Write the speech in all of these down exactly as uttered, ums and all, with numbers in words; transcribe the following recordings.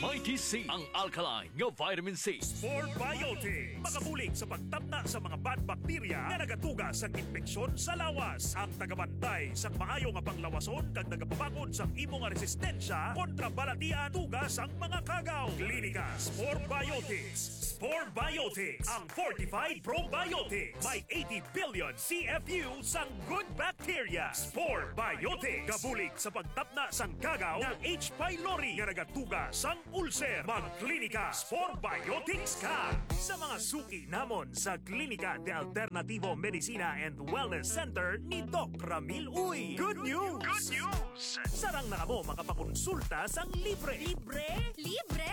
Mighty C, ang alkaline nga vitamin C. Spore Biotics, makabulig sa pagtapna sa mga bad bacteria nga nagatuga sa impeksyon sa lawas. Ang tagabantay sang maayo nga panglawason kag nagapabakod sang imo nga resistensya kontra balatian tuga sang mga kagaw. Klinika Spore Biotics. Spore Biotics, ang fortified probiotics. May eighty billion C F U sang good bacteria. Spore Biotics, kabulig sa pagtapna sang kagaw nga H. pylori nga nagatuga sang ulcer. Magklinika Spore Biotics ka sa mga suki namon sa Klinika de Alternativo Medicina and Wellness Center ni Doc Ramil Uy. Good news! Good news! Sarang na kamo makapakonsulta sang libre. Libre? Libre!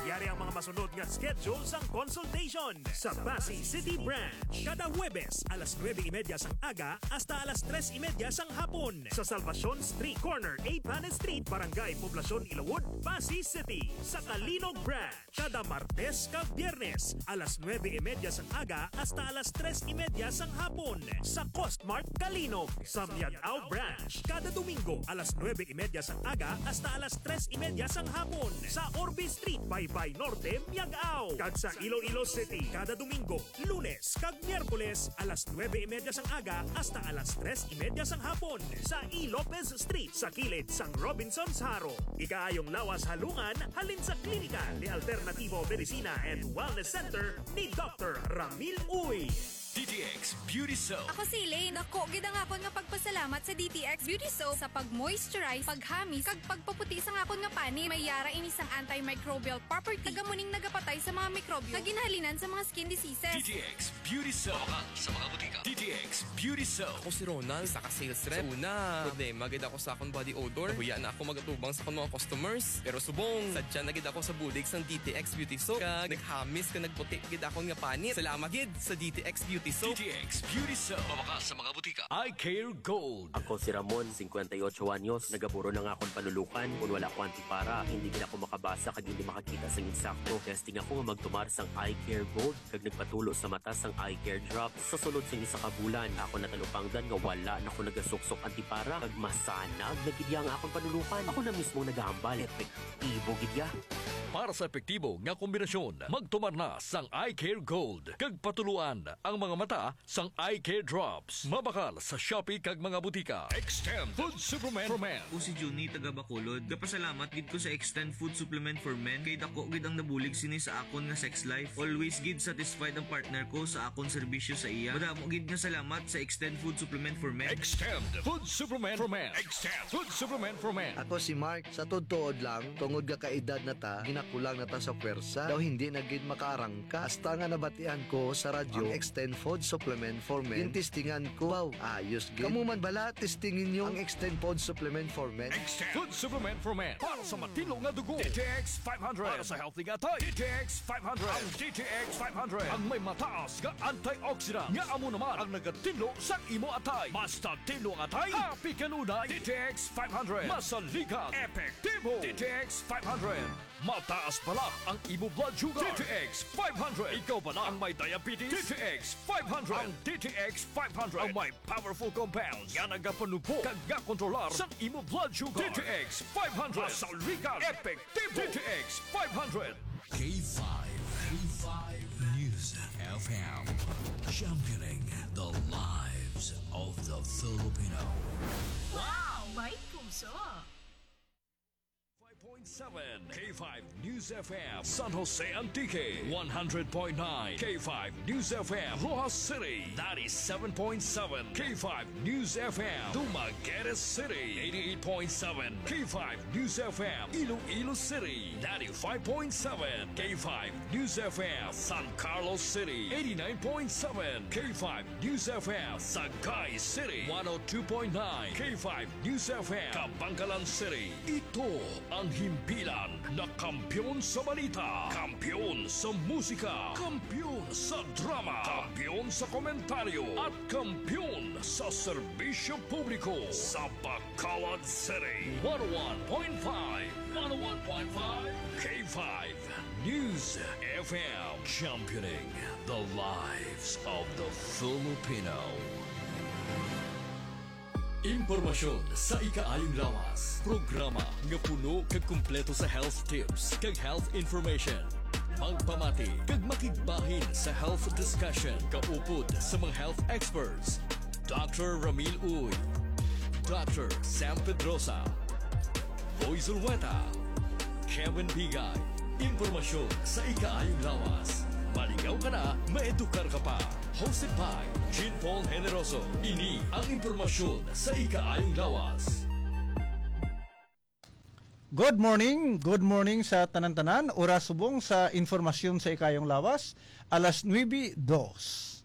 Yari ang mga masunod nga schedule sang consultation sa Passi City Branch. Kada Huwebes, alas nuebe y media sang aga hasta alas tres y media sang hapon, sa Salvacion Street, corner Eighth Street, Barangay Poblacion, Ilawod, Passi City, sa Calinog Branch. Kada Martes kag Biyernes, alas nuebe y media sang aga hasta alas tres y media sang hapon, sa Costmart Calinog, sa Miag-ao Branch. Kada Domingo, alas nuebe y media sang aga hasta alas tres y media sang hapon, sa Orbe Street, Baybay Norte, Miag-ao. Kag sa Iloilo City, kada Domingo, Lunes kag Miyerkules, alas nuebe y media sang aga hasta alas tres y media sang hapon, sa E. Lopez Street, sa kilid sang Robinsons Jaro. Ikaayong lawas halungan halin sa Klinika de Alternativo Medicina and Wellness Center ni Doctor Ramil Uy. D T X Beauty Soap. Ako si Elaine. Dako gid ang akon nga pagpasalamat sa D T X Beauty Soap sa pag-moisturize, paghamis, kag pagpaputi sang akon nga panit. May yara ini sang antimicrobial property, kag amo ning nagapatay sa mga mikrobyo nga ginahalinan sa mga skin diseases. D T X Beauty Soap. Mabakal sa mga butika. D T X Beauty Soap. Ako si Ronald, isa ka sales rep. Sa una, problema gid ako sa akong body odor. Nahuya na ako mag-atubang sa akong mga customers. Pero subong, sadya na gid ako sa bulig sang D T X Beauty Soap. Kag naghamis kag nagputi gid akon nga panit. Salamat gid sa D T X Beauty Soap. D T X Beauty Soap. Mabakal sa mga butika. Eye Care Gold. Ako si Ramon, singkwenta y ocho anyos. Nagaburo na nga akong panulukan. Kung wala ko antipara, hindi gid ako makabasa kag hindi makakita sang insakto. Testing ako nga magtumar sang Eye Care Gold kag nagpatulo sa mata sang Eye Care Drops. Sa sulod sang isa ka bulan, ako natalupangdan nga wala na ko nagasuksok antipara kag masanag na gid iya ang akong panulukan. Ako na mismo nagahambal. Epektibo gid iya. Para sa epektibo nga kombinasyon, magtumar na sang Eye Care Gold kag patuluan ang mga mata sang Eye Care Drops. Mabakal sa Shopee kag mga butika. Extend Food Supplement for Men. Ako si Junie, taga Bacolod. Gapasalamat gid ko sa Extend Food Supplement for Men kay dako gid ang nabulig sini sa akon nga sex life. Always gid satisfied ang partner ko sa akon serbisyo sa iya. Madamo gid nga salamat sa Extend Food Supplement for Men. Extend Food Supplement for Men. Extend Food Supplement for Men. Ako si Mark. Sa tuod-tuod lang, tungod nga kaedad na ta, ginakulang na ta sa pwersa. Daw hindi na gid makaarang ka. Hasta nga nabatian ko sa radyo ang Extend Food Supplement for Men, gintistingan ko. Wow, ayos gid. Kamo man bala, testingi ninyo ang Extend Food Supplement for Men. Extend Food Supplement for Men. Para sa matinlo nga dugo, D T X five hundred. Para sa healthy nga atay, D T X five hundred. Ang D T X five hundred ang may mataas nga antioxidant nga amo naman ang nagatinlo sa imo atay. Basta tinlo ang atay, happy kanunay. D T X five hundred. Masaligan, epektibo. D T X five hundred. Mataas bala ang imo blood sugar. D T X five hundred. Ikaw bala ang may diabetes? D T X five hundred. Ang D T X five hundred ang may powerful compounds nga nagapanubo kag nga kontrolar sa imo blood sugar. D T X five hundred. Masaligan, epektibo. D T X five hundred. K five, K five News F M, championing the lives of the Filipino. Wow! May puso! Five point seven K five News F M, San Jose Antique, one hundred point nine K five News F M, Roxas City, ninety-seven point seven K five News F M, Dumaguete City, eighty-eight point seven K five News F M, Iloilo City, ninety-five point seven K five News F M, San Carlos City, eighty-nine point seven K five News F M, Sagay City, one oh two point nine K five News F M, Kabankalan City. Ito ang himpilan na kampiyon sa balita, kampiyon sa musika, kampiyon sa drama, kampiyon sa komentaryo, at kampiyon sa serbisyo publiko. Sa Bacolod City, one oh one point five, one oh one point five K five News F M, championing the lives of the Filipino. Impormasyon sa ikaayong lawas. Programa nga puno kag kumpleto sa health tips kag health information. Magpamati kag makigbahin sa health discussion kaupod sa mga health experts. Doctor Ramil Uy, Doctor Sam Pedrosa, Boy Zulueta, Kevin Bigay. Impormasyon sa ikaayong lawas. Maligaw ka na, maedukar ka pa. Hosted by Jean Paul Generoso. Ini ang impormasyon sa ikaayong lawas. Good morning, good morning sa tanan-tanan. Oras subong sa impormasyon sa ikaayong lawas, alas nuebe dos.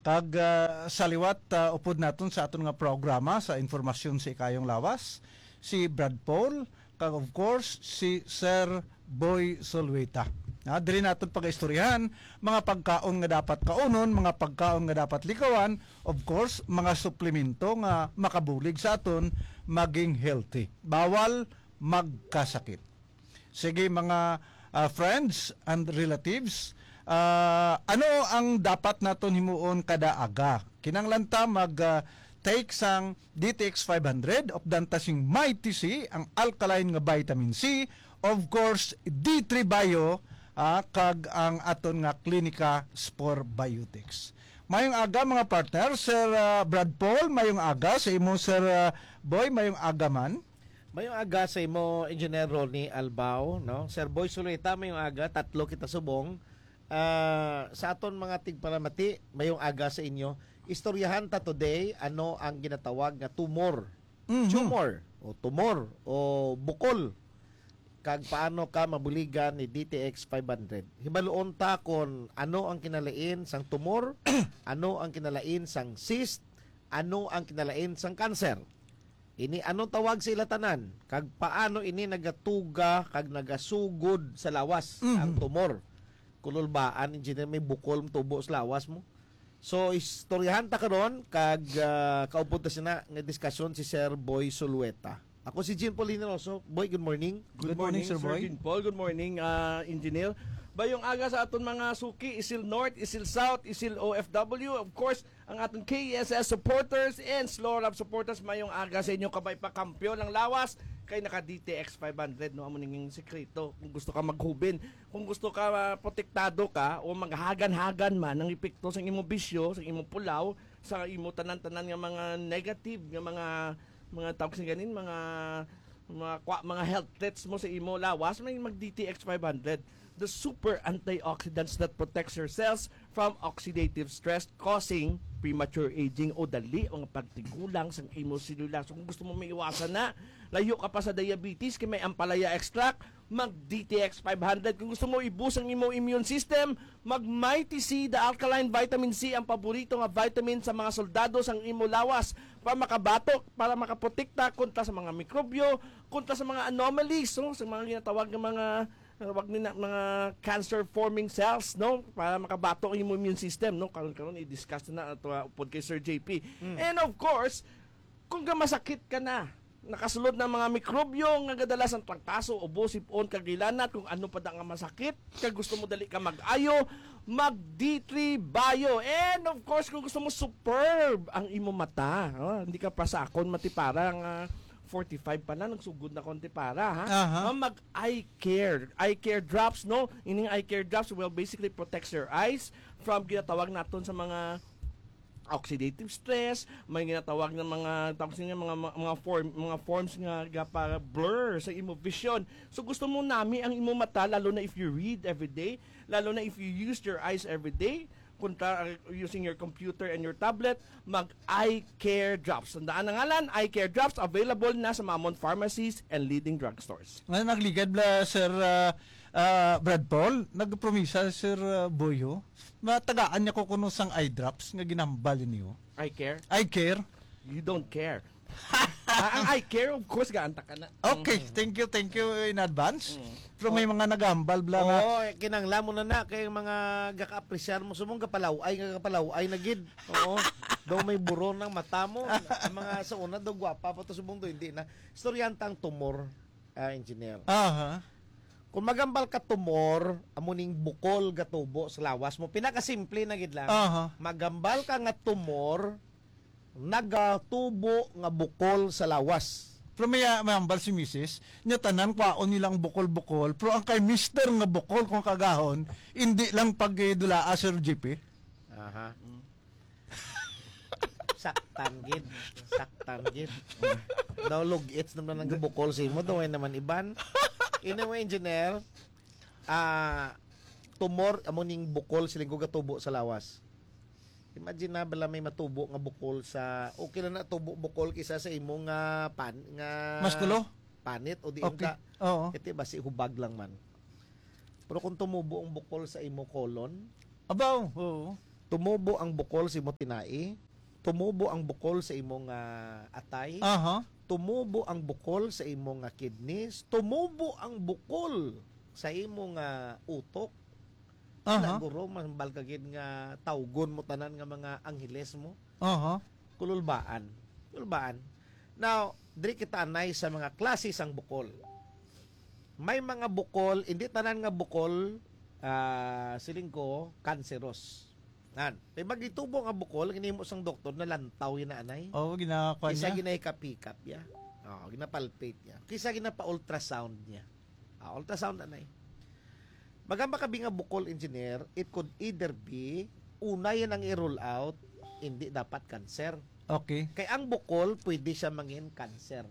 Kag, ah, sa liwat, ah, upod naton sa aton nga programa sa impormasyon sa ikaayong lawas, si Brad Paul, kag of course, si Sir Boy Solwita. Ah, diri naton pag-istoryahan, mga pagkaon nga dapat kaunon, mga pagkaon nga dapat likawan, of course, mga suplemento nga makabulig sa aton maging healthy. Bawal magkasakit. Sige, mga, ah, friends and relatives, ah, ano ang dapat naton himuon kada aga? Kinahanglan ta mag, ah, take sang D T X five hundred, updan ta sing Mighty C, ang alkaline nga vitamin C, of course, D three Bio, ah, kag ang aton nga Klinika Spore Biotics. Mayong aga, mga partner. Sir, ah, Brad Paul, mayong aga sa imo, Sir, ah, Boy, mayong aga man. Mayong aga sa imo, Engineer Ronnie Albao, no? Sir Boy Solwita, mayong aga. Tatlo kita subong. Ah, sa aton mga tigpalamati, mayong aga sa inyo. Istoryahan ta today ano ang ginatawag nga tumor. Mhm. Tumor, o tumor, o bukol. Kag paano ka mabuligan ni D T X five hundred. Hibaluon ta kon ano ang kinalain sang tumor, ano ang kinalain sang cyst, ano ang kinalain sang cancer. Ini ano tawag sa ila tanan, kag paano ini nagatuga kag nagasugod sa lawas Mhm. ang tumor. Kululbaan, engineer, may bukol tubo sa lawas mo. So, istoryahan ta karon kag, ah, kaupod ta sina nga diskusyon si Sir Boy Solweta. Ako si Jean Paul Generoso. Boy, good morning. Good Good morning, morning, Sir Sir Boy. Jean Paul. Good morning, ah, Engineer. Bayong aga sa aton mga suki, Isil North, Isil South, Isil O F W. Of course, ang aton K S S supporters and Slow Love supporters. Mayong aga sa inyo, kabay pa, kampiyon ang lawas kay naka D T X five hundred, no? Amo ning sekreto. Kung gusto ka maghubin, kung gusto ka, ah, protektado ka o maghagan-hagan man ang epekto sa imong bisyo, sa imong pulaw, sa imo tanan-tanan nga mga negative nga mga, mga tawag sa ganin, mga, mga kwa-, mga health threats mo sa imo lawas, may mag D T X five hundred. The super antioxidants that protects your cells from oxidative stress causing premature aging o dali ang pagtigulang sang imo selula. So, kung gusto mo maiwasan na, layo ka pa sa diabetes, kay may ampalaya extract, mag D T X five hundred. Kung gusto mo i-boost ang imo immune system, mag Mighty C, the alkaline vitamin C, ang paborito nga vitamin sa mga soldado sang imo lawas, para makabatok, para makaprotekta kontra sa mga mikrobyo, kontra sa mga anomalies, no? Sa mga ginatawag nga mga, uh, wag nila, mga cancer forming cells, no? Para makabatok ang imo immune system, no? Karon karon i-discuss na ato, uh, upod kay Sir J P. Mm. And of course, kung ka masakit ka na, nakasulod na mga mikrobyo nga gadala sang trangkaso, ubo, sip-on, kag hilanat, kung ano pa da nga masakit, kag gusto mo dali ka mag-ayo, mag D three Bio. And of course, kung gusto mo superb ang imo mata, oh, hindi ka pa sa akon matipara nga forty-five pa na, nagsugod na ko ang tipara, ha? Aha. Oh, mag eye care. Eye care drops, no? Ining eye care drops will basically protects your eyes from ginatawag naton sa mga oxidative stress, may ginatawag ng mga, tawag sa mga, mga, mga form, mga forms nga gapa-blur sa imo vision. So, gusto mo nami ang imo mata, lalo na if you read every day, lalo na if you use your eyes every day, kontra, uh, using your computer and your tablet, mag Eye Care Drops. Tandaan ang ngalan, Eye Care Drops, available na sa mga Mon pharmacies and leading drugstores. Nga nagligad bla, Sir, ah, ah, Brad Paul, nagpromisa, Sir, ah, Boyo, matagaan niya ko kuno sang eye drops nga ginambal niyo. Eye care? Eye care? You don't care. Ah, ang eye care, of course, gaanta ka na. Okay, Mm. thank you, thank you in advance. Mm. Pero may Oh. mga nagambal bla nga. Oo, eh, kinangla mo na na kay mga gaka-apresyar mo. Sumong gapalaw-ay nga gapalaw-ay na gid. Oo. Daw may buron ang mata mo. Ang mga sa una daw gwapa pa to, subong daw hindi na. Istoryahan ta ang tumor, ah, engineer. Aha. Kung magambal ka tumor, amo ning bukol gatubo sa lawas mo. Pinakasimple na gid lang. Aha. Magambal ka nga tumor, nagatubo nga bukol sa lawas. Pero may ah, mahambal si misis, niya tanan kwaon nilang bukol-bukol, pero ang kay mister nga bukol kung kagahon, hindi lang pagdulaa, Sir G P. Aha. Saktan gid. Saktan gid. Daw lugits naman ang bukol sa imo, daw ay naman iban. Anyway, engineer, ah, tumor amo ning bukol sa linggo gatubo sa lawas. Imagine na bala may matubo nga bukol sa, okay lang na tubo bukol kisa sa imo nga pan nga Mas kulo? Panit o di Okay. Inta. Oo. Ito basi hubag lang man. Pero kung tumubo ang bukol sa imo colon, Abaw, oo. Tumubo ang bukol sa imo tinai, tumubo ang bukol sa imo nga atay, Aha. tumubo ang bukol sa imo nga kidneys, tumubo ang bukol sa imo nga utok. Aha. Siguro, mahambal ka gid nga tawgon mo tanan nga mga angheles mo. Aha. Kululbaan. Kululbaan. Now, diri kita anay sa mga klase sang bukol. May mga bukol, hindi tanan nga bukol, ah, siling ko, cancerous. Nan, may magitubo nga bukol, ginimo sang doktor na lantaw yun na anay. Oo, ginakakuha Kisa niya. ginahikap-hikap ya. Oh, ginapalpate ya. Kisa ginapa-ultrasound niya. Ah, ultrasound anay. Magamba kabi nga bukol, engineer, it could either be, una yan ang i-rule out, hindi dapat cancer. Okay. Kay ang bukol, pwede siya mangin cancer.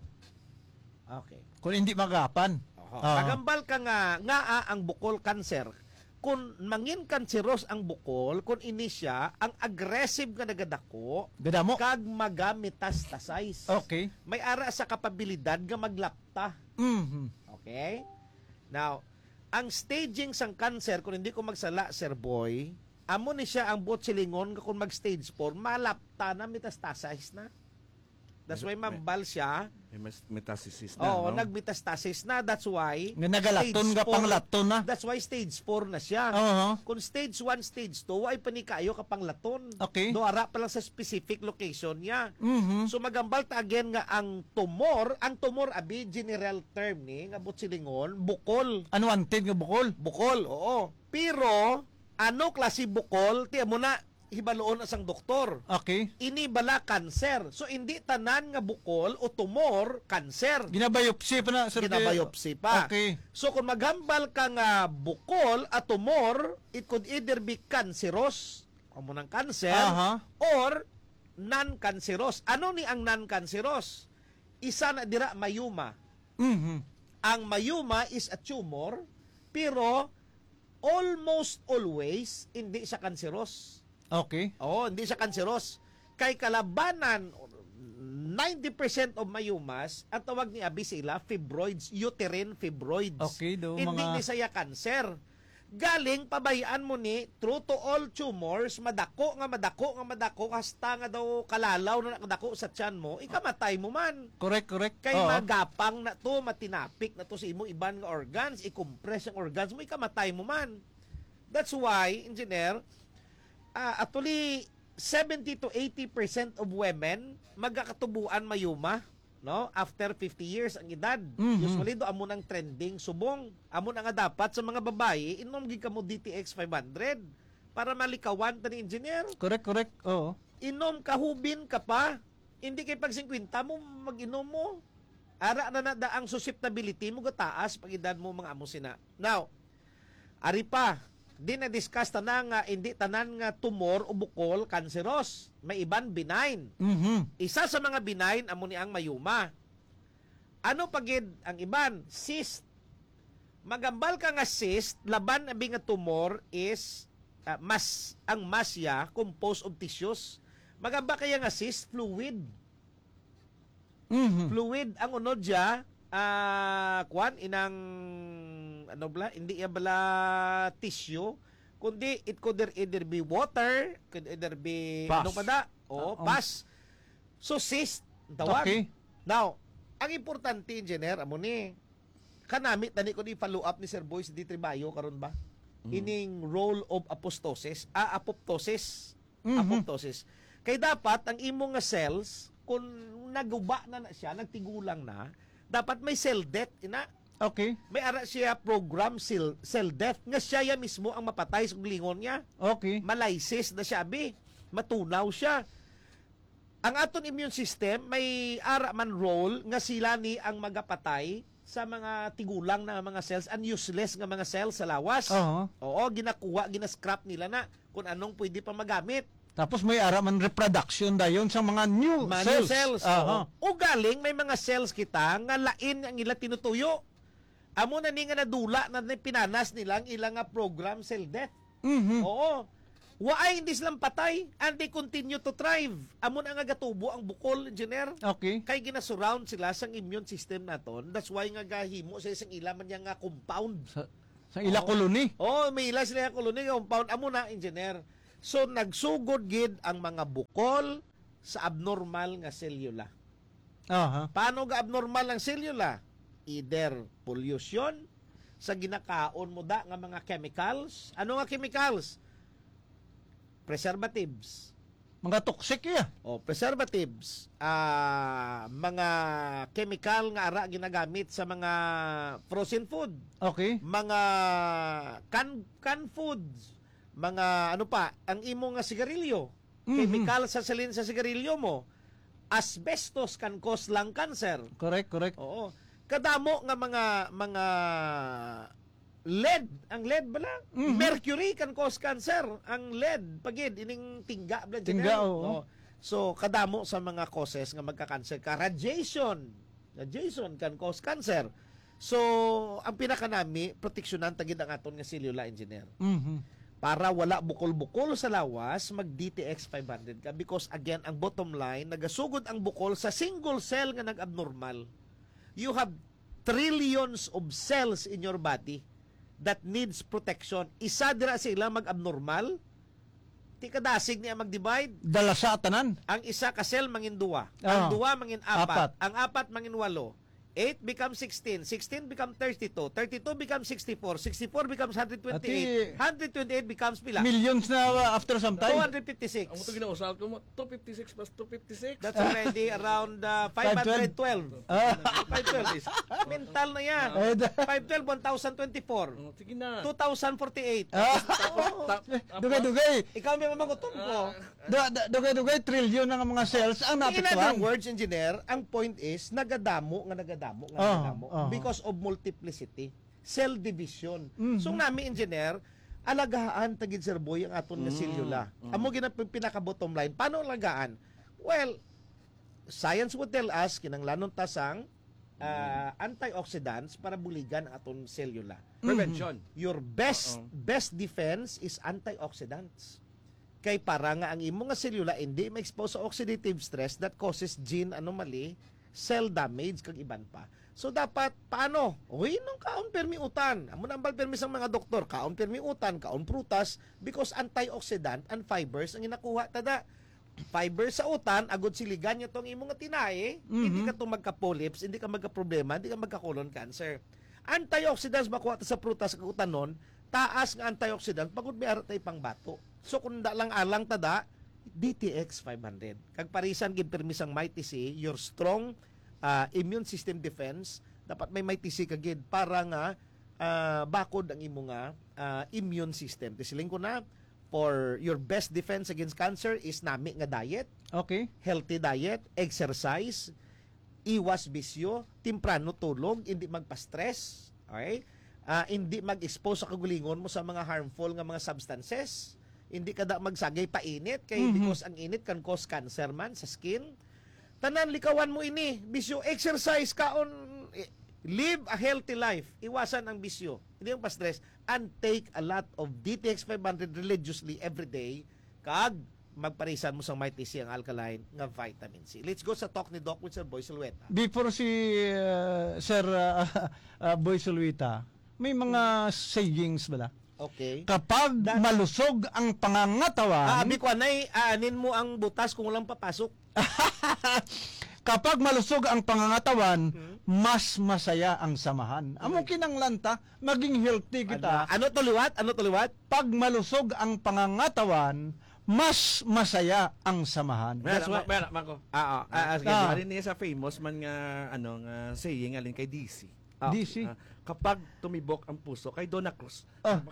Okay. Kung hindi magapan. Oho. Ah. Magambal ka nga, nga ah, ang bukol cancer, kung mangin cancerous ang bukol, kung ini siya, ang aggressive nga nagadako, Gadamo. Kag maga-metastasize. Okay. May ara sa kapabilidad nga maglapta. Mhm. Okay? Now, ang staging sang cancer, kung hindi ko magsala, Sir Boy, amo ni siya ang buot silingon nga kung mag-stage four, malapta na, metastasize na. That's why mambal siya. May mas metastasis na, Oo, no? nagmetastasis na. That's why Nga nagalaton stage nga four. Panglaton na. That's why stage four na siya. Oo. Kung stage one, stage two, ay pa ni kayo ka panglaton. Okay. Do ara pa lang sa specific location niya. Mhm. So magambal ta again nga ang tumor, ang tumor abi general term ni nga buot silingon, bukol. Unwanted nga bukol. Bukol, oo. Pero ano klase bukol, ti amo na hibaluon na sang doktor. Okay. Ini bala cancer. So hindi tanan nga bukol o tumor cancer. Ginabiopsy pa na, sir. Ginabiopsy pa. Okay. So kung maghambal ka nga bukol at tumor, it could either be cancerous, amo nang cancer, Aha. or non-cancerous. Ano ni ang non-cancerous? Isa na dira, myoma. Mhm. Ang myoma is a tumor, pero almost always hindi siya cancerous. Okay. Oo, hindi siya cancerous. Kay kalabanan, ninety percent of myomas, ang tawag ni abi sila fibroids, uterine fibroids. Okay, do, Hindi mga ni siya cancer. Galing, pabayaan mo ni, true to all tumors, madako nga madako nga madako, hasta nga daw kalalaw na nakadako sa tiyan mo, ikamatay mo man. Correct, correct. Kay Oo. magapang na to, matinapik na to sa imo iban nga organs, i-compress ang organs mo, ikamatay mo man. That's why, engineer, ah, actually, seventy to eighty percent of women magakatubuan myoma, no? After fifty years ang edad. Mhm. Usually, do amo nang trending subong. Amo na nga dapat sa mga babayi, inom gid kamo D T X five hundred para malikawan ta ni, engineer. Correct, correct. Oo. Inom ka, hubin ka pa. Hindi kay pag singkwenta mo, mag-inom mo. Ara na na da ang susceptibility mo gataas pag edad mo, mga amo sina. Now, ari pa, di na-discuss ta na nga hindi tanan nga tumor o bukol cancerous. May iban benign. Mhm. Isa sa mga benign amo ni ang myoma. Ano pa gid ang iban? Cyst. Magambal ka nga cyst, laban abi nga tumor is ah, mas ang mas ya composed of tissues. Magamba kaya nga cyst, fluid. Mhm. Fluid ang unod siya, ah, kwan, inang, ano bala, hindi ya bala tissue, kundi it could either be water, could either be, Pus. ano pa da? Oo, Oo. Pus. So, cyst, ang tawag. Okay. Now, ang importante, engineer, amo ni, kanami tani ko ni follow up ni Sir Boy sa D three Bio karon ba? Mm. Ining role of apostosis, ah, apoptosis. Mhm. Apoptosis. Kay dapat ang imo nga cells, kung naguba na na siya, nagtigulang na, dapat may cell death, ina. Okay. May ara siya program cell, cell death, nga siya ya mismo ang mapatay sa lingon niya. Okay. Malysis na siya, abi. Matunaw siya. Ang aton immune system, may ara man role nga sila ni ang magapatay sa mga tigulang na mga cells, ang useless nga mga cells sa lawas. Oo. Oo, ginakuha, ginascrap nila na kung anong pwede pa magamit. Tapos may ara man reproduction dayon sa mga new Mga cells. New cells. Aha. Oo. O galing, may mga cells kita nga lain ang ila tinutuyo. Amo na ni nga nadula na ni pinanas nila ang ila nga program cell death. Mhm. Oo. Waay, hindi sila patay and they continue to thrive. Amo na nga gatubo ang bukol, engineer. Okay. Kay ginasurround sila sang immune system naton. That's why nga gahimo sa isang ila man niya nga compound. Sa, sa ila Oo. Colony. Oh, may ila sila colony nga compound. Amo na, engineer. So, nagsugod gid ang mga bukol sa abnormal nga selula. Aha. Paano ga abnormal ang selula? Either pollution, sa ginakaon mo da nga mga chemicals. Ano nga chemicals? Preservatives. Mga toxic iya. O, preservatives. Ah, mga chemical nga ara ginagamit sa mga frozen food. Okay. Mga can, can foods. Mga ano pa, ang imo nga sigarilyo. Mhm. Chemical sa salin sa sigarilyo mo. Asbestos can cause lung cancer. Correct, correct. Oo. Kadamo nga mga mga lead, ang lead bala, Mhm. mercury can cause cancer. Ang lead pagid ining tingga bala, Tingga, Janelle. Oo. So kadamo sa mga causes nga magka-cancer ka, radiation. Radiation can cause cancer. So ang pinakanami, proteksyonan ta gid ang aton nga selula, engineer. Mhm. Para wala bukol-bukol sa lawas, mag D T X five hundred ka. Because again, ang bottom line, nagasugod ang bukol sa single cell nga nag-abnormal. You have trillions of cells in your body that needs protection. Isa dira sa ila mag-abnormal, ti kadasig niya mag-divide. Dalasa tanan. Ang isa ka cell mangin duwa. Ang Ah. duwa mangin apat. Apat. Ang apat mangin walo. Eight becomes sixteen. Sixteen becomes thirty-two. Thirty-two becomes sixty-four. Sixty-four becomes hundred twenty-eight. Ati- Hundred twenty-eight becomes pila? Millions na uh, after some time. Two hundred fifty-six. Ang ito ginausal ko mo, two fifty-six plus two fifty-six. That's already around uh, five hundred twelve. Ah. five twelve is mental na yan. Eh, da- five twelve, one thousand twenty-four. Oh, sige na. Two thousand forty-eight. Ah. Tapos, tap- tapos, Dugay-dugay. Ikaw may mamagutom ko. Da, da, dugay-dugay, trilyon ang mga cells ang In other naapektuhan. words, engineer, ang point is, nagadamo nga nagadamo nga Ah, nagadamo ah. because of multiplicity, cell division. Mhm. So nami, engineer, alagaan ta gid, Sir Boy, ang aton nga Mm, selula. mm. Amo gid ang pin- pinakabottom line. Paano alagaan? Well, science would tell us, kinanglanon ta sang ah, antioxidants para buligan ang aton selula. Prevention. Your best Oo. best defense is antioxidants. Kay para nga ang imo nga selula hindi ma-expose sa oxidative stress that causes gene anomaly, cell damage, kag iban pa. So dapat paano? Uy, nung kaon permi utan. Amo na ang bal permi sang mga doktor, kaon permi utan, kaon prutas, because antioxidant and fibers ang ginakuha tada. Fiber sa utan, agod siligan niya tong imo nga tinai, Mhm. hindi ka to magka-polyps, hindi ka magka-problema, hindi ka magka-colon cancer. Antioxidants makuha ta sa prutas kag utanon, taas nga antioxidant, pagod may ara tay pangbato. So kung da lang alang ta da, D T X five hundred. Kag parisan gid pirmi sang Mighty C, your strong ah, immune system defense, dapat may Mighty C ka gid para nga ah, bakod ang imo nga ah, immune system. Ti siling ko na, for your best defense against cancer is nami nga diet, Okay. healthy diet, exercise, iwas bisyo, temprano tulog, hindi magpa-stress, okay? Ah, hindi mag-expose sa kagulingon mo sa mga harmful nga mga substances. Hindi ka da magsagay painit kay Mhm. because ang init can cause cancer man sa skin. Tanan, likawan mo ini. Bisyo, exercise, kaon, eh, live a healthy life. Iwasan ang bisyo. Hindi ang pa-stress. And take a lot of D T X five hundred religiously every day. Kag magparisan mo sang Mighty C, ang alkaline nga vitamin C. Let's go sa talk ni Doc with Sir Boy Silweta. Before si uh, Sir uh, uh, Boy Sulwita, may mga sayings bala. Okay. Kapag That- malusog ang pangangatawan, Ah, abi ko anay, aanin mo ang butas kung walang papasok. kapag malusog ang pangangatawan, mas masaya ang samahan. Amo kinanglan ta, maging healthy kita. Ano, ano to liwat? Ano to liwat? Pag malusog ang pangangatawan, mas masaya ang samahan. Mera, That's why- ma- mera, mako. Ah, ah, ah, ah, sige. Ah. Ari niya sa famous man nga ano nga saying alin kay D C. Ah, D C. Ah, kapag tumibok ang puso kay Donna Cruz. Ah.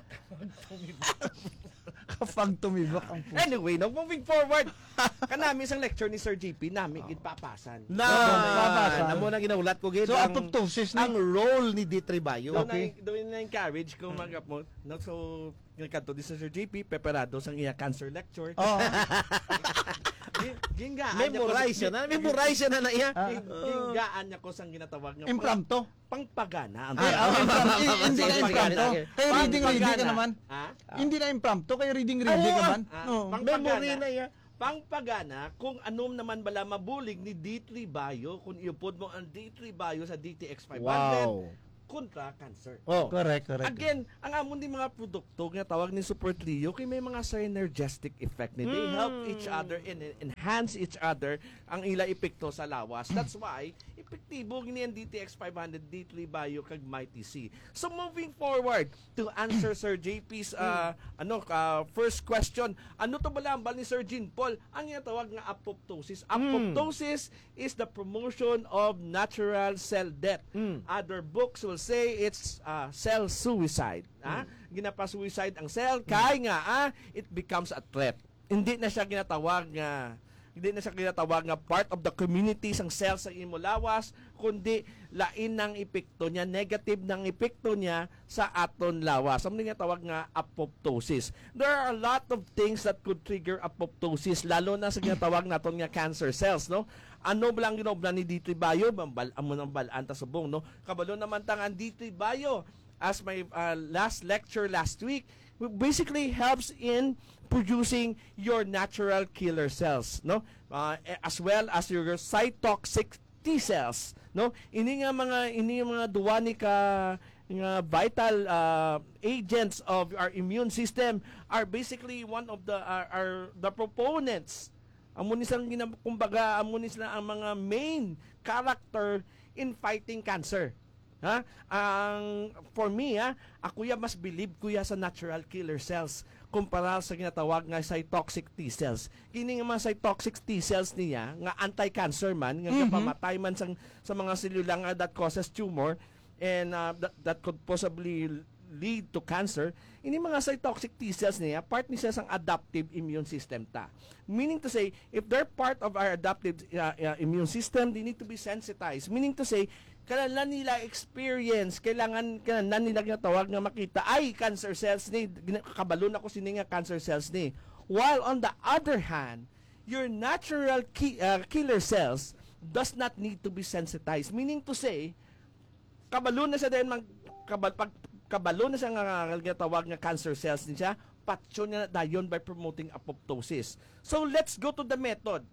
Kapag tumibok ang puso. Anyway, no, moving forward. Kanami sang lecture ni Sir J P, nami gid papasan. Na, Papasan. Amo na ginahulat ko gid So, ang, autoptosis na. Ang role ni D three Bio. Doon Okay. na, doon na encourage ko mga po. No, so, nagkadto di sa Sir J P, preparado sang iya cancer lecture. Oh. Gin- gingaan niya ko Memorize sa- siya na. Memorize siya na na iya. Ah. Gin- Gingaan niya ko sang ginatawag nga Impromptu. Pangpagana. Ay, ah, impromptu. Eh, hindi na Sige, sige, impromptu. sige. Kay reading, reading ka Pangpagana. naman. Ha? Hindi na impromptu, kay reading, reading ka Oo. man. Ah, Oh. pangpagana. Memory na iya. Pangpagana kung anum naman bala mabulig ni D three Bio kung iupod mo ang D three Bio sa D T X five hundred Wow. kontra cancer. Oh. Correct, correct. Again, ang amon di mga produkto nga tawag ni Super Trio kay may mga synergistic effect ni. They Mm. help each other and en- enhance each other ang ila epekto sa lawas. That's why epektibo gini ang D T X five hundred, D three Bio kag Mighty C. So moving forward to answer Sir J P's uh, ano uh, first question, ano to bala ang bal ni Sir Jean Paul ang ginatawag nga apoptosis? Apoptosis is the promotion of natural cell death. Mm. Other books will say it's uh, cell suicide. Ha? Ginapa-suicide ang cell kay nga ah, it becomes a threat. Hindi na siya ginatawag nga hindi na siya ginatawag nga part of the community sang cell sa imo lawas, kundi lain ang epekto niya, negative nang epekto niya sa aton lawas. Ang ginatawag nga apoptosis. There are a lot of things that could trigger apoptosis, lalo na sa ginatawag naton nga cancer cells, no? Ano ba lang ginobra ni D three Bio? Mambal amo nang balaan ta subong, no? Kabalo naman ta nga ang D three Bio, as my uh, last lecture last week, basically helps in producing your natural killer cells, no? Uh, as well as your cytoxic T cells, no? Ini nga mga ini nga mga duwa ni ka nga vital uh, agents of our immune system are basically one of the are, are the proponents. Amo ni sang gina- kumbaga amo ni sila ang mga main character in fighting cancer. Ha? Ang for me ha, ako ya mas believe ko ya sa natural killer cells kumpara sa ginatawag nga cytoxic T cells. Kini nga mga cytoxic T cells niya nga anti-cancer man, nga Mhm. gapamatay man sang, sa mga selula nga that causes tumor and uh, that, that could possibly lead to cancer, ini mga cytoxic T cells niya, part ni siya sang adaptive immune system ta. Meaning to say, if they're part of our adaptive uh, uh, immune system, they need to be sensitized. Meaning to say, kailangan nila experience, kailangan kailangan nila ginatawag nga makita ay cancer cells ni gina- kabalo na ko sini nga cancer cells ni. While on the other hand, your natural ki- uh, killer cells does not need to be sensitized. Meaning to say, kabalo na siya dahil mag kabal, pag, kabalo na siya nga, nga ginatawag nga cancer cells ni siya, patyon niya na dayon by promoting apoptosis. So let's go to the method.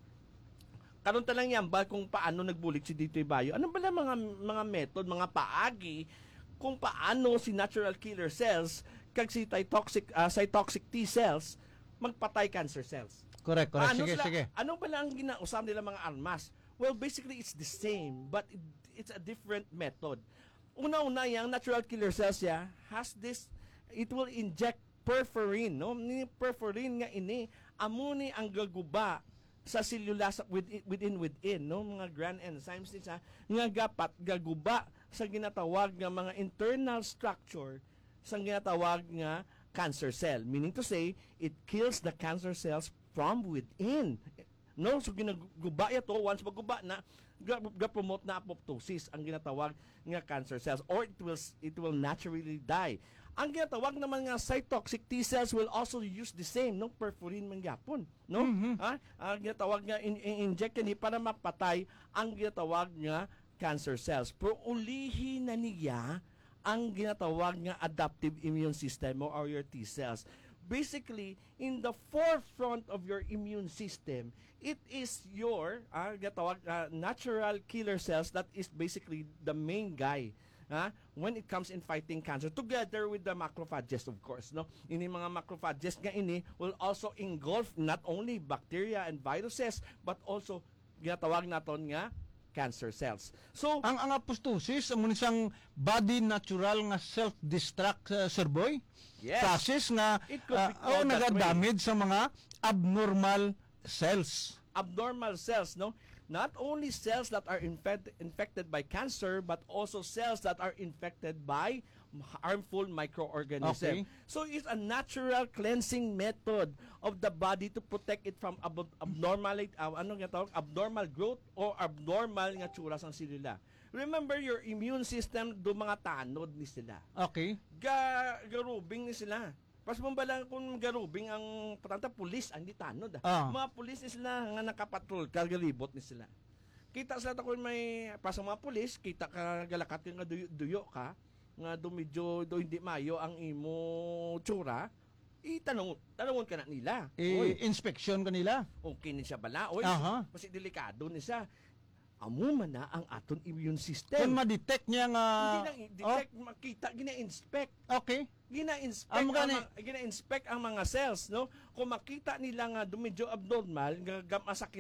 Karon ta lang yan ba kung paano nagbulig si D three Bio? Ano ba lang mga mga method, mga paagi kung paano si natural killer cells kag si cytoxic uh, cytoxic T cells magpatay cancer cells? Correct, correct. Ano Sige, sila, sige. Ano ba lang ang ginausap nila mga armas? Well, basically it's the same but it, it's a different method. Una-una, yang natural killer cells ya has this, it will inject perforin, no? Ni perforin nga ini amo ni ang gaguba sa selula sa, within, within within, no? Mga grand enzymes ni sa nga gapat gaguba sa ginatawag nga mga internal structure sa ginatawag nga cancer cell. Meaning to say, it kills the cancer cells from within. No, so ginaguba ya to, once maguba na, ga, ga promote na apoptosis ang ginatawag nga cancer cells, or it will it will naturally die. Ang ginatawag naman nga cytoxic T cells will also use the same, no, perforin man gyapon, no? Mhm. Ha? Ang ginatawag nga in, in inject ni para mapatay ang ginatawag nga cancer cells. Pero ulihi na niya ang ginatawag nga adaptive immune system mo or your T cells. Basically, in the forefront of your immune system, it is your ah, gatawag ah, natural killer cells that is basically the main guy ah, when it comes in fighting cancer, together with the macrophages, of course, no? Ini mga macrophages nga ini will also engulf not only bacteria and viruses but also ginatawag naton nga cancer cells. So, Ang ang apoptosis amo ni sang body natural nga self-destruct, uh, Sir Boy. Yes. Process nga It could be uh, oh, called that way. Nagadamage sa mga abnormal cells. Abnormal cells, no? Not only cells that are infect- infected by cancer, but also cells that are infected by harmful microorganism. Okay. So it's a natural cleansing method of the body to protect it from ab- abnormal, uh, ano nga tawag, abnormal growth or abnormal nga tsura sang selula. Remember, your immune system do mga tanod ni sila. Okay. Ga garubing ni sila. Pas mo bala kung garubing ang patanta pulis ang di tanod, ah. Ah. Mga pulis ni sila nga nakapatrol, kagalibot ni sila. Kita sila ta kung may pas ang mga pulis, kita ka galakat ka nga duyo, duyo ka, nga do medyo do hindi mayo ang imo tsura, itanong tanungon ka na nila. Oy, I-inspection ka nila. Okay ni siya bala. Oy, Aha. Kasi delikado ni siya. Amo man na ang aton immune system. Kung ma-detect niya nga... Hindi lang i-detect, makita, gina-inspect. Oh, okay. Gina-inspect Amo ang gani. mga, gina-inspect ang mga cells, no? Kung makita nila nga do medyo abnormal, nga gam- masakit